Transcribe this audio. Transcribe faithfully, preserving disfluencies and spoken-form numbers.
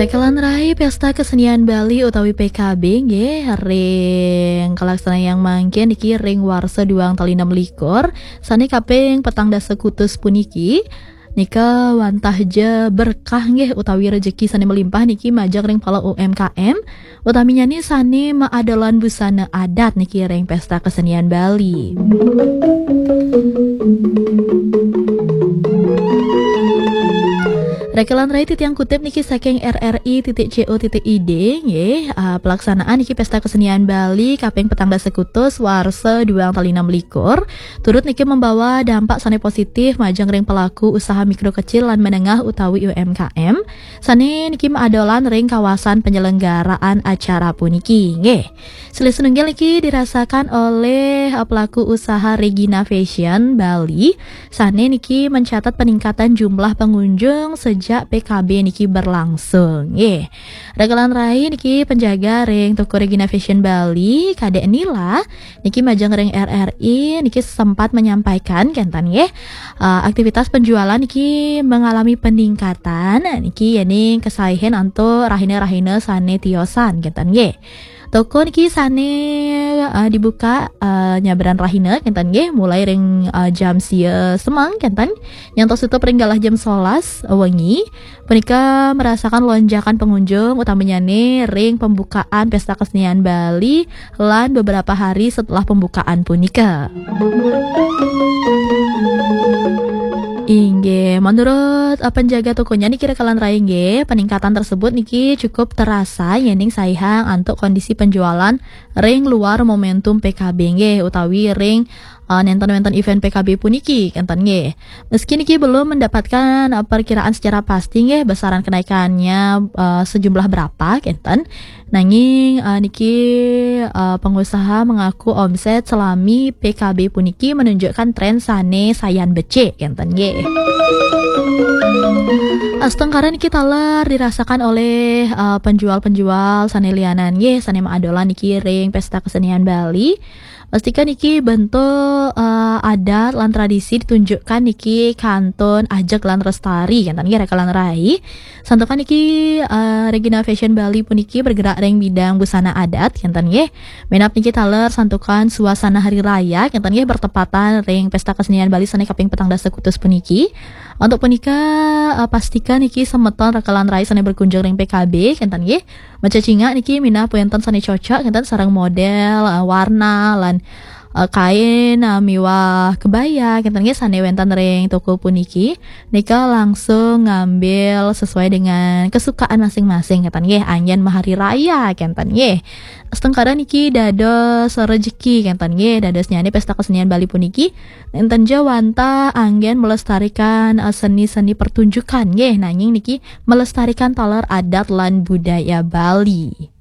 Kalan rai Pesta Kesenian Bali utawi P K B nggih ring kalaksanayang mangkin niki ring warsa duang tali enam likur, sane kaping petang dasa kutus puniki. Nika wantah ja berkah nggih utawi rejeki sane melimpah niki majeng ring pala U M K M, utaminyane sane maadolan busana adat niki ring Pesta Kesenian Bali. Rekelan rai titiang kutip niki saking R R I titik C O titik I D nggih. Ah, pelaksanaan niki Pesta Kesenian Bali kaping petang dasa kutus warsa duang tali enam likur turut niki membawa dampak sane positif majeng ring pelaku usaha mikro kecil lan menengah utawi U M K M sane niki maadolan ring kawasan penyelenggaraan acara puniki nggih. Silih sinunggil niki dirasakan oleh, eh, pelaku usaha Regina Fashion Bali, sane niki mencatat peningkatan jumlah pengunjung sejak P K B niki berlangsung. Nggih. Rekelan rai niki penjaga ring toko Regina Fashion Bali, Kadek Nila, niki majeng ring R R I, niki sempat menyampaikan kenten nggih, eh, aktivitas penjualan niki mengalami peningkatan, niki yening kesaihin antuk rahina-rahina sane tiosan kenten nggih. Toko niki sane, eh, dibuka, eh, nyabran rahina kenten nggih, mulai ring, eh, jam sia semeng kenten nyantos tutup ring galah jam sebelas wengi. Punika merasakan lonjakan pengunjung utamanyane ring pembukaan Pesta Kesenian Bali lan beberapa hari setelah pembukaan punika. Inggih, menurut, eh, penjaga tokonya niki Rekelan Rai nggih, peningkatan tersebut niki cukup terasa yening saihang antuk kondisi penjualan ring luar momentum P K B nggih utawi ring, eh, nenten-nenten event P K B puniki kenten nggih. Meski niki belum mendapatkan, eh, perkiraan secara pasti nggih besaran kenaikannya, eh, sejumlah berapa kenten. Nanging, eh, niki, eh, pengusaha mengaku omset selami P K B puniki menunjukkan tren sane sayan becik kenten nggih. Astungkara niki taler dirasakan oleh, eh, penjual-penjual sane lianan nggih, sane maadolan niki ring Pesta Kesenian Bali. Pastika niki bentuk, eh, adat lan tradisi ditunjukkan niki kantun ajeg lan restari kenten nggih Rekelan Rai. Santukan niki, eh, Regina Fashion Bali puniki bergerak ring bidang busana adat kenten nggih. Minab niki taler santukan suasana hari raya kenten nggih bertepatan ring Pesta Kesenian Bali sane kaping petang dasa kutus puniki. Untuk punika, eh, pastika niki semeton Rekelan Rai sane berkunjung ring P K B kenten nggih. Macecingak niki minab wenten sane cocok kenten sareng model, eh, warna lan, eh, kain, eh, miwah kebaya kenten nggih sane wenten ring toko puniki. Nika langsung ngambil sesuai dengan kesukaan masing-masing kenten nggih, anggen mahari raya kenten nggih. Astungkara niki dados rejeki kenten nggih, dadosnyane Pesta Kesenian Bali puniki nenten ja wantah anggen melestarikan, eh, seni-seni pertunjukan nggih, nanging niki melestarikan taler adat lan budaya Bali.